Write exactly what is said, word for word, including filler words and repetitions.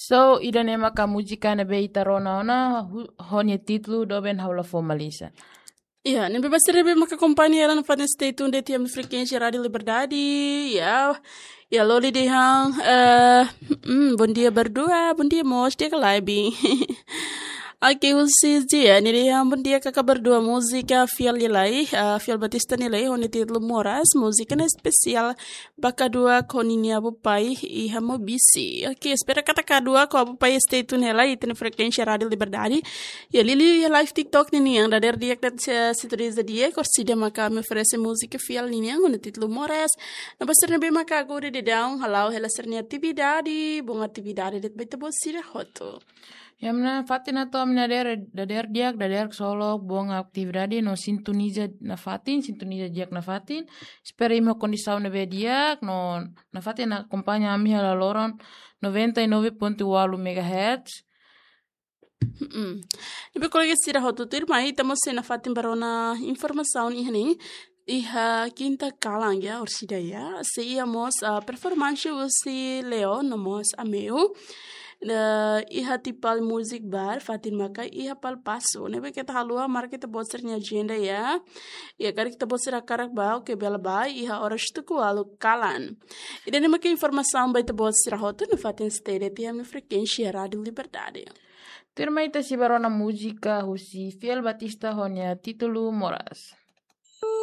So, ida-ne'e maka múzika ne'ebé ita rona ona, hu-, ho nia títulu Doben Ha'u La Formaliza. Ya, ne'ebé ba sira ne'ebé maka akompaña hela nafatin, stay tuned de'it iha ami-nia frekuénsia Rádiu Liberdade. Ya, ya, Loli dehan, eh, mm, bom dia berdua, bom dia mós, di'ak ka lae, Bi. Oke, husi Zia, nia dehan bom dia kaka berdua, múzika fiel nia lai, eh, Fiel Batista nia lai, ho nia títulu Moras, múzika ne'e espesiál ba kaduak ho ninia abapé iha Maubisse. Oke, espera katak kaduak ho abapé stay tuned hela iha ita-nia frekuénsia Rádiu Liberdade. Ya, Lili iha live TikTok ninian, dadeer di'ak de'it, eh, sintoniza di'ak, orsida maka ami oferese múzika fiel ninian ho nia títulu Moras. No ba sira ne'ebé maka agora daudaun hala'o hela sira-nia atividade, bom atividade de'it ba ita-boot sira hotu. Ya, mana fatin atu ami dadeer, dadeer di'ak, dadeer ksolok, bom atividade, no sintoniza nafatin, sintoniza di'ak nafatin. Espera imi ho kondisaun ne'ebé di'ak, no nafatin akompaña ami hela loron noventa e nove ponto ualu megahertz. Mm. Ne'ebé kolega sira hotu, tuirmai ita mós sei nafatin ba rona informasaun iha ne'e, iha kinta kalan ya, orsida ya, sei iha mós, ah, performance husi Leo no mós Ameu. Eh, iha Tipal Music Bar, fatin maka iha Palpaso. Ne'ebé keta haluha, marka ita-boot sira-nia ajenda ya. Ya, karik ita-boot sira hakarak bá, oke, bele bá, iha oras tuku ualu kalan. Ida-ne'e maka informasaun ba ita-boot sira hotu nafatin, stay de'it iha ami-nia frekuénsia Rádiu Liberdade. Tuirmai ita sei ba rona múzika husi Fiel Batista ho nia títulu Moras.